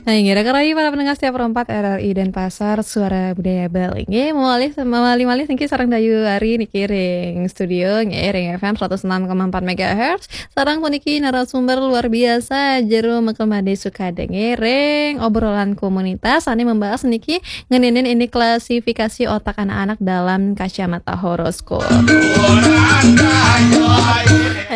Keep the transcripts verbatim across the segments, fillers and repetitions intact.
Nah, inggih, raka rayi para pendengar setia Pro empat R R I Denpasar, Suara Budaya Bali. Nggih, malih, malih-malih niki sareng Dayu Ari niki ring studio, nggih, ring F M seratus enam koma empat megahertz. Sareng puniki narasumber luar biasa, Jero Mekel Made Sukade, nggih, ring obrolan komunitas, ane membahas niki ngeninin ini klasifikasi otak anak-anak dalam kacamata horoskop.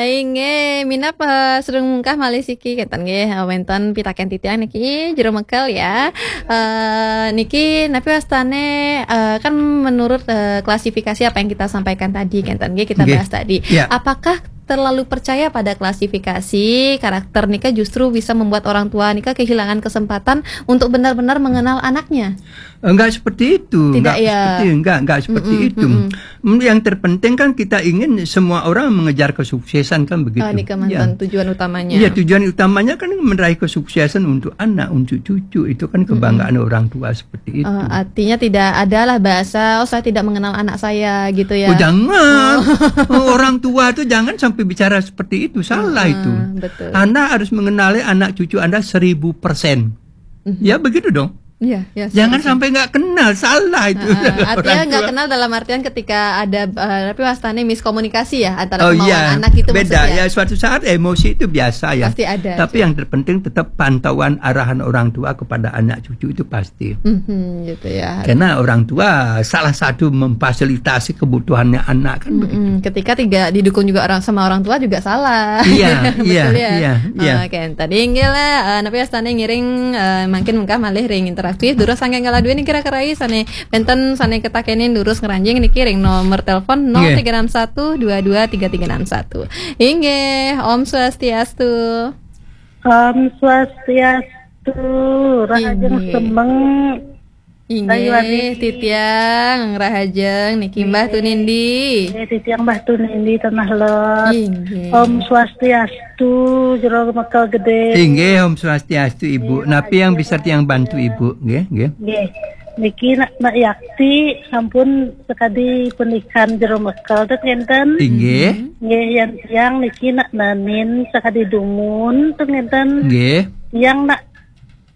Inggih, minab, eh, sedeng mungkah malih siki kenten nggih, eh, wenten pitaken titiang niki, Jero Mekel ya. Eh, niki napi wastane, eh, kan menurut, eh, klasifikasi apa yang kita sampaikan tadi kenten nggih, kita Nggih. bahas tadi. Ya. Apakah terlalu percaya pada klasifikasi karakter nika justru bisa membuat orang tua nika kehilangan kesempatan untuk benar-benar mengenal anaknya? Enggak seperti itu, Tidak, enggak ya. seperti, enggak, enggak seperti Mm-mm, itu. mm-mm. Mm, yang terpenting kan kita ingin semua orang mengejar kesuksesan kan begitu. Oh, nika Ya. mantan tujuan utamanya. Iya, tujuan utamanya kan meraih kesuksesan untuk anak, untuk cucu. Itu kan Mm-mm. kebanggaan orang tua seperti itu. Eh, artinya tidak adalah bahasa, "Oh, saya tidak mengenal anak saya," gitu ya. Oh, jangan. Oh. Oh, orang tua tuh jangan sampai bicara seperti itu. Salah Heeh, itu. betul. Anda harus mengenali anak cucu Anda seribu persen. Mhm. Ya, begitu dong. Iya, iya, Jangan seharusnya. sampai nggak kenal, salah itu. Heeh, artinya Orang nggak tua. kenal dalam artian ketika ada, eh, tapi wastane miskomunikasi ya antara Oh, kemauan iya. anak itu Beda maksudnya. ya, suatu saat emosi itu biasa ya. Pasti ada, Tapi Cik. yang terpenting tetap pantauan arahan orang tua kepada anak cucu itu pasti. Mhm, gitu ya. Karena orang tua salah satu memfasilitasi kebutuhannya anak kan Mm-mm. begitu. Ketika tidak didukung juga orang sama orang tua juga salah. Iya, Betul iya, ya? iya, iya. Oke, tadi inggih lah, eh, napi wastane ngiring, eh, mangkin mungkah malih ring interaktif. Durus sangking kala duwe niki raka rayi sane wenten sane ketakenin durus ngranjing niki ring nomor telepon Nggih. nol tiga enam satu dua dua tiga tiga enam satu. Inggih, Om Swastiastu. Om Swastiastu, rahajeng Inggih. semeng. Inggih, Ayu Ari. titiang rahajeng niki Mbah Tunindi. Eh, titiang Mbah Tunindi Tanah Lot. Inggih. Om Swastiastu, Jero Mekel Gede. Inggih, Om Swastiastu, Ibu. Iya, Napi yang iya. bisa tiang bantu, Ibu? Nggih, nggih. Nggih. Niki nak, nak yakti sampun sakadi penikan Jero Mekel tuh ngenten. Inggih. Nggih, yang tiang niki nak nanin sakadi dumun tuh ngenten. Nggih. Yang nak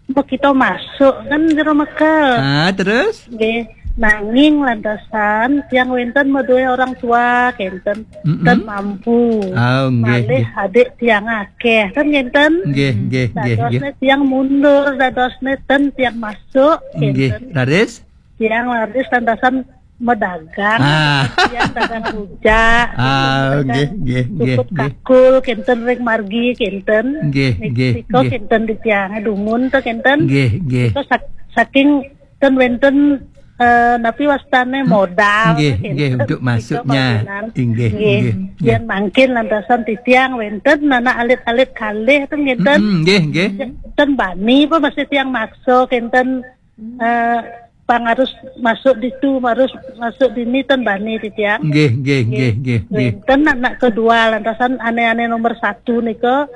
makita masuk kan Jero Mekel. Ah, terus? Nggih. Nanging lantasan tiang wenten madue orang tua kenten Mm-mm. ten mampu. Ah, nggih, Malih nggih. adik tiang akeh kan ngenten. Nggih, nggih, nggih, nggih. Dadosne tiang mundur, dadosne ten tiang masuk Nggih, kenten. Raris? Tiang raris lantasan medagang, Ah. tiang dagang rujak, Ah, dagang nggih, nggih, nggih, cukup nggih. kakul kenten ring margi kenten. Nggih, Nik-, nggih, nika nggih. kenten di tiange dumun to kenten. Nggih, nggih. Nika sak-, saking ten wenten, eh, napi wastane modal Nggih, kenten. nggih, untuk Nika masuknya. pamainan. Nggih, Nggih. nggih, nggih. Yen mangkin lantasan titiang wenten anak alit-alit kalih ten ngenten. Mm-mm, nggih, nggih. Ten bani apa masih tiang maksa kenten, eh, pang harus masuk ditu, harus masuk dini ten bani titiang. Nggih, nggih, Nggih. nggih, nggih, nggih. Wenten anak kedua lantasan ane-ane nomor satu nika,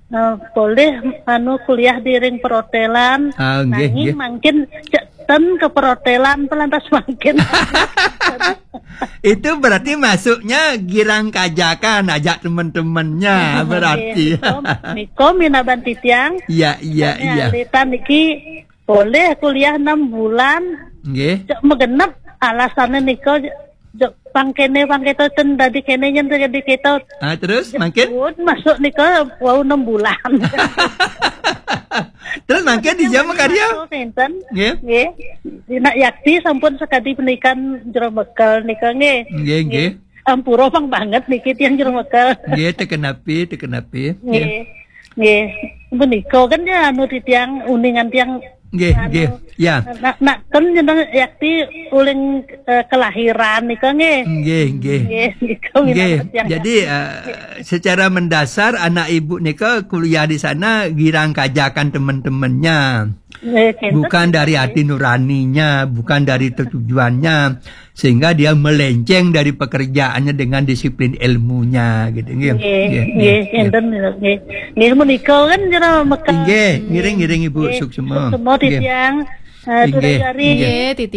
eh, boleh anu kuliah di ring perhotelan. Ah, nggih, Nanging nggih. mangkin cek ten ke perhotelan pelantas mangkin. Itu berarti masuknya girang kajakan ajak teman-temannya Nggih, berarti. nika, nika minaban titiang. Iya, iya, Kami iya. alitan niki boleh kuliah enam bulan. Nggih. Cek megenep alasane nika, cek pangkene pangketo ten dadi kene yen dadi keto. Ah, terus mangkin? Pun masuk nika wau enam bulan. Terus mangkin di jam karya? Masuk enten. Nggih. Nggih. Dinak yakti sampun sekadi penikan Jero Mekel nika nggih. Nggih, nggih. Ampura pang banget niki tiang Jero Mekel. Nggih, teken api, teken api. Nggih. Nggih. Nggih. Menika kan ya anu di tiang uningan tiang Nggih, anu, nggih. Ya. Nak, nak ten jeneng yakti uling, eh, kelahiran nika nggih. Nggih, nggih. Nggih, nika minat Nggih. tiang Jadi, yakti. eh, secara mendasar anak ibu nika kuliah di sana girang kajakan teman-temannya. Nggih, kenten. Bukan dari hati nuraninya, bukan dari tujuannya, sehingga dia melenceng dari pekerjaannya dengan disiplin ilmunya gitu nggih. Nggih, Nggih, nggih, nggih. Kenten, nggih. Nggih, menika kan Jero Mekel. Nggih, ngiring-ngiring Ibu Nggih, suksema. suksema Nggih. titiang, eh, Nggih, Durayari. nggih. Nggih, titiang.